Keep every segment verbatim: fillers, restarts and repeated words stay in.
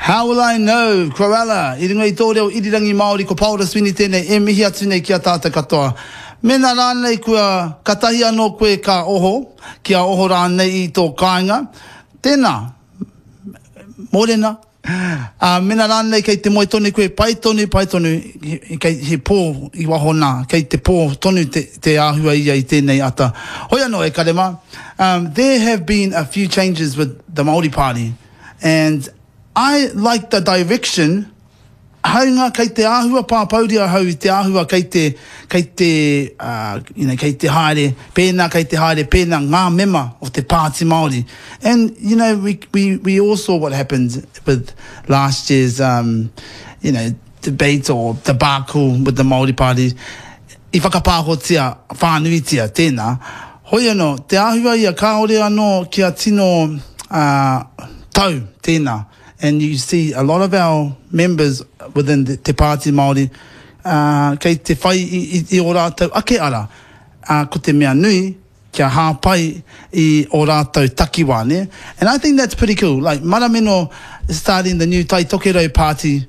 How will I know, Cruella, i runga i tō reo irirangi Māori, ko Paora Sweeney tēnei e mihi atu nei ki a tātou katoa. Mēnā rānei kua katahi anō koe ka oho, kia oho rānei i tō kāinga, tēnā, mōrena. Ā, mēnā rānei kei te moe tonu koe, pai tonu, pai tonu, he, kei, he pō i waho nā, kei te pō tonu te, te āhua ia i tēnei ata. Hoi anō e kare mā, um, there have been a few changes with the Māori Party, and I like the direction, hāunga kei te āhua pāpouri ahau i te āhua kei te, kei te, uh, you know, kei te haere pēnā, kei te haere pēnā ngā mema o te Pāti Māori. And, you know, we, we, we all saw what happened with last year's, um, you know, debate or debacle with the Māori Party. I whakapāhotia whānuitia tēnā. Hoi anō, te āhua ia kāore anō kia tino uh, tau tēnā. And you see a lot of our members within the, Te Pāti Māori uh, kei te whai i, i, i o rātou ake ara. Uh, ko te mea nui, kia hāpai i o rātou takiwā, ne? And I think that's pretty cool. Like, Marameno starting the new Tai Tokerau Party,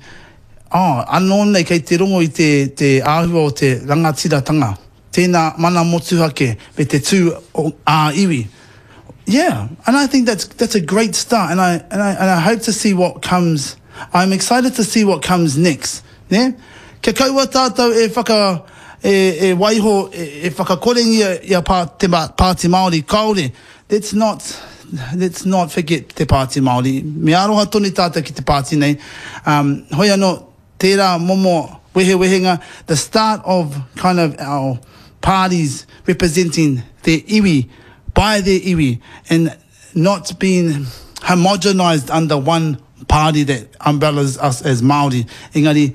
oh, anō nei kei te rongo i te, te āhua o te rangatiratanga. Tēnā mana motuhake me te tū o, ā iwi. Yeah, and I think that's that's a great start, and I and I and I hope to see what comes. I'm excited to see what comes next. Ne? Kia kaua tātou e whaka e, e waiho e, e whakakorengia i a pā, te Pāti Māori kāore. Let's not let's not forget te Pāti Māori. Me aroha tonu tātou ki te pāti nei. Um, hoi anō, tērā momo wehewehenga, the start of kind of our parties representing their iwi, by their iwi, and not being homogenized under one party that umbrellas us as Māori. Engari,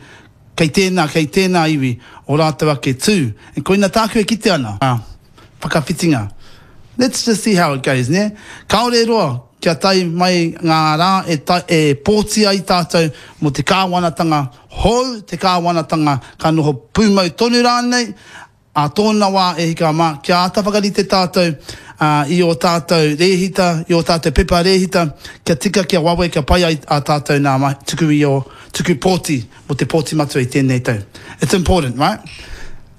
kei tēnā, kei tēnā iwi, o rātou ake tū. And koina tāku e kite ana, uh, whakawhitinga. Let's just see how it goes, ne? Kāore roa, kia tae mai ngā rā e, ta, e pōti ai tātou mō te kāwanatanga hou, te kāwanatanga ka noho pūmau tonu rānei, a tōna wā e hika mā, kia āta whakarite tātou uh, i o tātou rēhita, i o tātou pepa rēhita, kia tika, kia wawe, kia pai ai a tātou nā ma, tuku i o tuku pōti, mō te pōti matua i tēnei tau. It's important, right?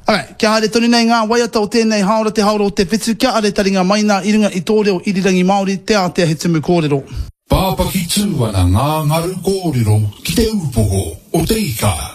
Alright, kia haere tonu nei ngā waiata o tēnei haora te haora o te whitu, kia are taringa mai nā i runga i tō reo irirangi Māori, te ātea he tumu kōrero. Pāpaki tū ana ngā ngaru kōrero ki te upoko o te ika.